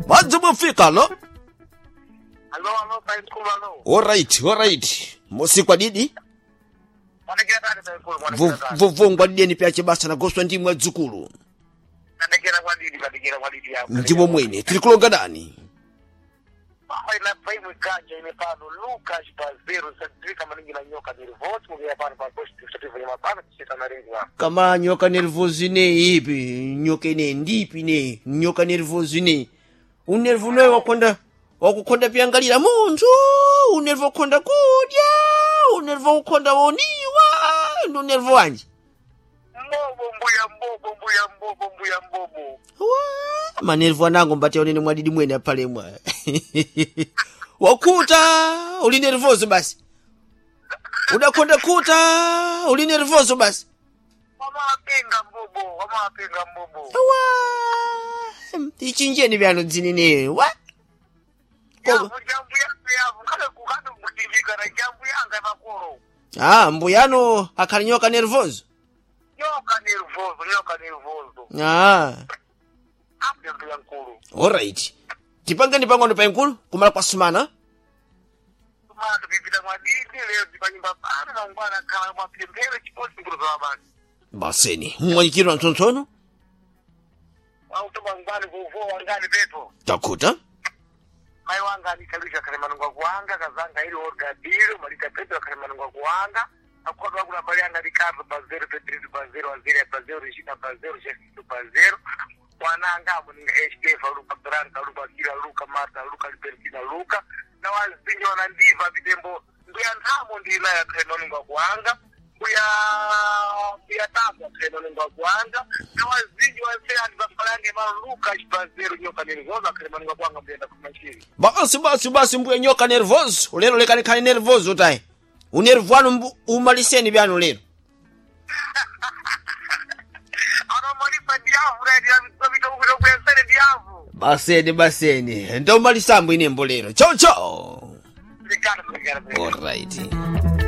Mwadzi mufika lo. Alo, alo, paikulu, alo. Alright, alright. Musikwa didi. Mwanekera tani paikulu, mwanekera tani. Vuvungwa dideni pyache basa nagoswa ndi mwadzukulu. Nanekera kwa didi, nanekera kwa didi yako. Ndimo mwene tili kulonga dani. Papa ina paimu kanja imepano Lucas Bazero sadrika maningi na nyoka nervoso mugea pano pa post kusativu ya mapano kuchita maringi wa. Kama nyoka nervoso ne ipi, nyoka ine ndipi ne, nyoka nervoso ne. Unervo noyo wakonda wakukonda pyangalira munthu, unervo wakonda kudya, unervo wakukonda woniwa, ndi unervo wanji. Mbobo mbuya mbobo mbuya mbobo mbuya mbobo. Wa, manervo anango mbati onene mwadidi mwene apalemwa. Wakuta, uli nervoso basi. Udakonda kuta, uli nervoso basi. Wamawapinga mbobo, wamawapinga mbobo. Wa, ichinjeni vyano dzinene wa. Yavu jambu yangu yavu kale kukati kutivika na jambu yanga makoro. Ah, mbuyano akhali nyoka nervoso. Nyoka nervoso, nyoka nervoso. Ah, Apo mbuya nkulu. alright. Tipangeni pang'ono paenkulu kumala kwa sumana. Tumatu pipita mwadidi leo tipanyumba pano mangwana khala mwapemphero chiposi nkulu za mabasi. Baseni, mmwanyikirwa mtsontsono. Auto mangwani kuvowa ngani pepo. Takuta. Mai wanga anikalisha khale manungwa kuwanga kazanga ili orgadiro malita petro khale manungwa kuwanga akhwadwa akula bali anga Ricardo Bazero Pedrito Bazero Azeria Bazero Regina Bazero Jefito Bazero wananga abo ninga Estefa Luka Branca Luka Kila Luka Marta Luka Libertina Luka na wazinji wanandiva vitembo mbuya nthamo ndinayo akhale manungwa kuwanga mbuya mbuya tapo akhale manungwa kuwanga na wazinji wanse anthu pafalange malo Luka Bazero nyoka nervosa akhale manungwa kuwanga mbuyenda kumachiri. Basi basi basi mbuya nyoka nervoso. Lero lekani khali nervoso tayi. Unervo wanu umaliseni vyanu lero. Anomalipa ndiyavu naitikuitokuyesere ndiyavu. Baseni baseni. Ndomalisambo inembo lero. Chau chau. Obrigado, obrigado, obrigado. Alright.